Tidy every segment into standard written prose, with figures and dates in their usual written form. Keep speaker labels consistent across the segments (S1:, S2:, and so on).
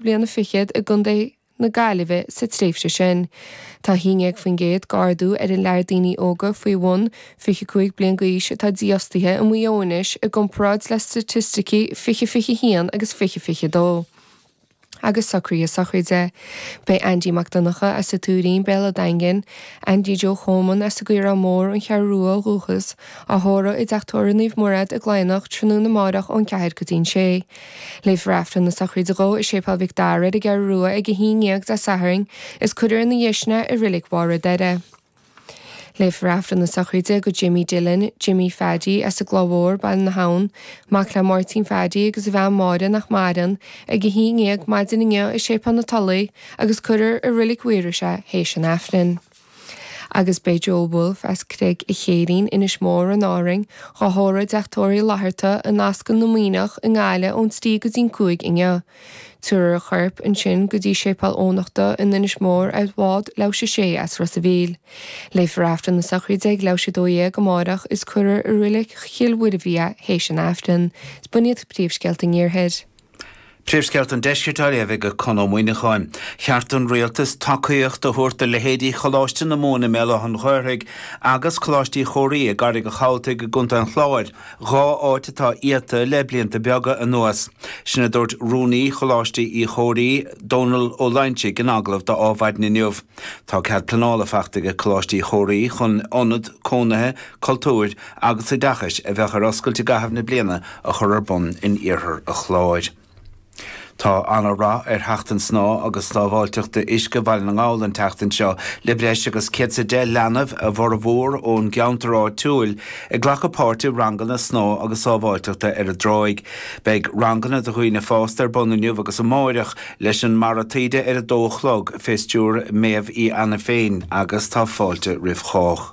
S1: bliana fichead i gContae na Gaillimhe sa tréimhse sin. Tá 11% d'ardú ar an lear daoine óga faoi bhun 25 bliain d'aois atá dífhostaithe i Maigh Eo anois i gcomparáid le staitisticí 2021 agus 2022. Agus socruithe sochraide. Beidh Andy Mac Donncha as an Tuairín, Béal an Daingin, Andy Joe Choman as an gCaorán Mór, An Cheathrú Rua ó dhúchas, á thórramh i dTeach Tórraimh Naomh Mairéad i gCladhnach tráthnóna amárach ón 4 go dtí'n 6. Léifear Aifreann na sochraide dhó i Séipéal Mhic Dara ar an gCeathrú Rua ag 11 Dé Sathairn is cuirfear ina dhiaidh sin é i Reilig Bharr an Doire. Léifear Aifreann na sochraide do Jimmy Dillon, Jimmy Pheaidí, as an gCloich Mhór, Baile na hAbhann, mac le Máirtín Pheaidí agus a bhean Máire nach maireann, ag 11 maidin inniu i Séipéal na Tulaí agus cuirfear i Reilig Mhaorais é théis an Aifrinn. Agus beidh Joe Woulfe as Creag a' Chéirín, Inis Mór in Árainn, dhá thórramh i dTeach Tórraimh Uí Fhlatharta i Nasclann na Muimhneach i nGaillimh ón 3 go dtí'n 5 inniu. Tabharfar a chorp ansin go dtí Séipéal Eoghanachta in Inis Mór ar bhád leathuair théis a 6 as Ros a' Mhíl. Léifear Aifreann na sochraide ag leathuair théis a 12 amárach is cuirfear i Reilig Chill Mhuirbhigh é théis an Aifrinn. Is b'in iad príomhscéalta an Iarthair.
S2: Príomhscéalta an Deiscirt á léamh ag Conn Ó Muíneacháin. Cheart don Rialtas tacaíocht a thabhairt do leithéidí Choláiste na Mumhan i mBéal Átha an Ghaorthaidh agus Coláiste Uí Chomhraí i gCarraig an Chabhaltaigh i gContae an Chláir, 2 áit atá iata le blianta beaga anuas. Sin a dúirt Rúnaí Choláiste Uí Chomhraí, Dónal Ó Loingsigh in agallamh do Adhmhaidin inniu. Tá cead pleanála faighte ag Coláiste Uí Chomhraí chun ionad cónaithe, cultúir agus oideachais a bheadh ar oscailt i gcaitheamh na bliana a chur ar bun in iarthar an Chláir. Tá ana-rath ar Sheachtain Snámha agus Sábháilteachta Uisce Bhaile na nGall an tseachtain seo, le breis agus 110 leanbh, a bhformhór ón gceantar áitiúil, ag glacadh páirt i ranganna snámha agus sábháilteachta ar an dtráigh. Beidh ranganna do dhaoine fásta ar bun inniu agus amáireach, leis an mBarra Taoide ar a dó a chlog, fé stiúir Méabh Uí Ainiféin, agus tá fáilte roimh chách.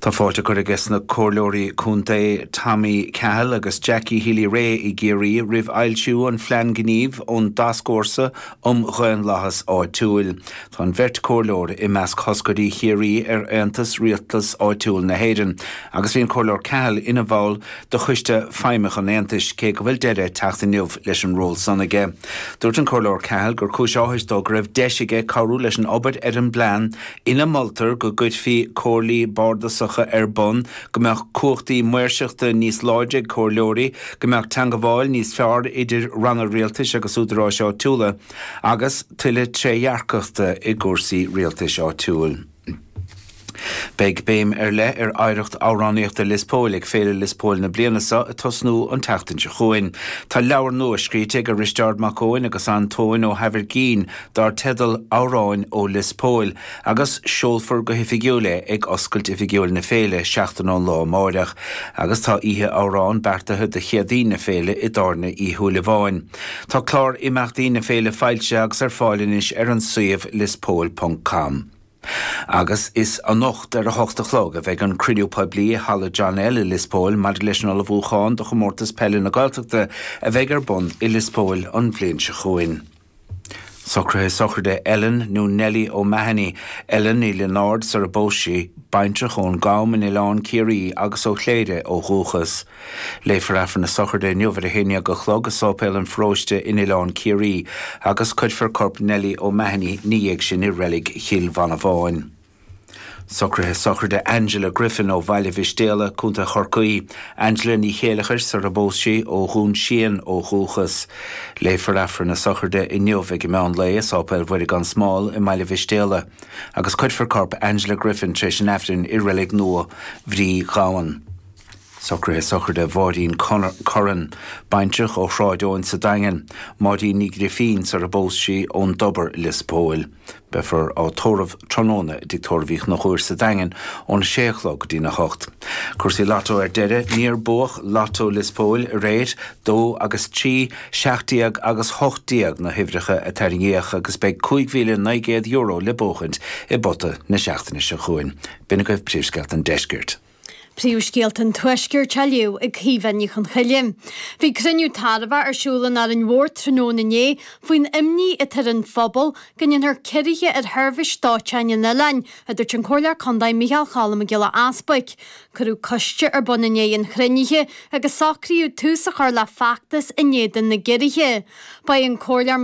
S2: Tá fáilte curtha aige sna Comhairleoirí Contae Tommy Cahill agus Jackie Healy-Rae i gCiarraí roimh fhoilsiú an Phlean Gnímh ón dTascfhórsa um Dhaonlathas Áitiúil. Tá an bheirt Comhairleoir i measc thoscairí Chiarraí ar Aontas Rialtas Áitiúil na hÉireann agus bhí an Comhairleoir Cahill ina bhall de Choiste Feidhmeach an Aontais cé go bhfuil deireadh ag teacht inniu leis an ról san aige. Dúirt an Comhairleoir Cahill gur cúis áthais dó go raibh deis aige cabhrú leis an obair ar an bplean ina moltar go gcuirfí comhairlí bardasacha ar bun, go mbeadh cumhachtaí maoirseachta níos láidre ag comhairleoirí, go mbeadh teangabháil níos fearr idir ranna rialtais agus údaráis áitiúla, agus tuilleadh trédhearcachta i gcúrsaí rialtais áitiúil. Beidh béim ar leith ar oidhreacht amhránaíochta Lios Póil ag Féile Lios Póil na bliana seo ag tosnú an tseachtain seo chugainn. Tá leabhar nua scríte ag Risteárd Mac Eoin agus Antóin Ó hAimhirgín dar teideal Amhráin ó Lios Póil agus seolfar go hoifigiúil é ag oscailt oifigiúil na féile seachtain ón lá amáireach agus tá oíche amhrán beartaithe do Chéadaoin na féile i dTábhairne Uí Shúilleabháin. Tá clár imeachtaí na féile foilsithe agus ar fáil anois ar an suíomh liospóil ponc com. Agus is anocht ar a hocht a chlog a bheidh an cruinniú poiblí i Halla John L i Lios Póil maidir leis an ullmhúchán do Chomórtas Peile na Gaeltachta a bheidh ar bun i Lios Póil an bhliain seo chugainn. Socruithe sochraide Ellen nó Nellie O'Mahony, Ellen Ní Lionáird sar a bpós sí, baintreach ón gCam in Oileán Ciarraí agus ó Chléire ó dhúchas. Léifear Aifreann na sochraide inniu ar a haon dhéag a chlog i Sáipéal an Pharóiste in Oileán Ciarraí agus cuirfear corp Nellie O'Mahony 'na dhiaidh sin i Reilig Chill Mhanabháin. Socruithe sochraide Angela Griffin ó Bhaile Mhistéala, Co. Chorcaí. Angela Ní Chéileachair sar a bpós sí, ó Dhún Síon ó dhúchas. Léifear Aifreann na sochraide inniu ag an meán lae i Sáipéal Mhuire gan Smál i mBaile Mhistéala agus cuirfear corp Angela Griffin tar éis an Aifrinn i Reilig Nua Bhrí Ghabhann. Socruithe sochraide Mháirín Curran, baintreach ó Shráid Eoin sa Daingean, Máirín Ní Ghrifín sar a bpós sí ón dTobar, Lios Póil. Beifear á tórramh tráthnóna i dTigh Tórraimh Uí Chonchúir sa Daingean óna sé a chlog go dtína hocht. Cúrsaí Lotto ar deireadh, níor buadh Lotto Lios Póil aréir, 2 agus 3, 17 agus 18 na huimhreacha a tarraingíodh agus beidh €5,900 le buachaint i bpota na seachtaine seo chugainn. B'in agaibh príomhscéalta an deiscirt.
S3: Príomhscéalta an Tuaiscirt á léamh ag Caoimhe Ní Chonchoille. Bhí cruinniú tairbheach ar siúl in Árainn Mhór tráthnóna inné faoin imní atá ar an phobal go ndéanfar ciorruithe ar sheirbhís dóiteáin an oileáin, a dúirt an Comhairleoir Contae Micheál Cholm Mac Giolla Easbuic. Cuireadh coiste ar bun i ndiaidh an chruinnithe agus socraíodh tús a chur le feachtas in éadan na gciorruithe. Ba é an Comhairleoir Mac.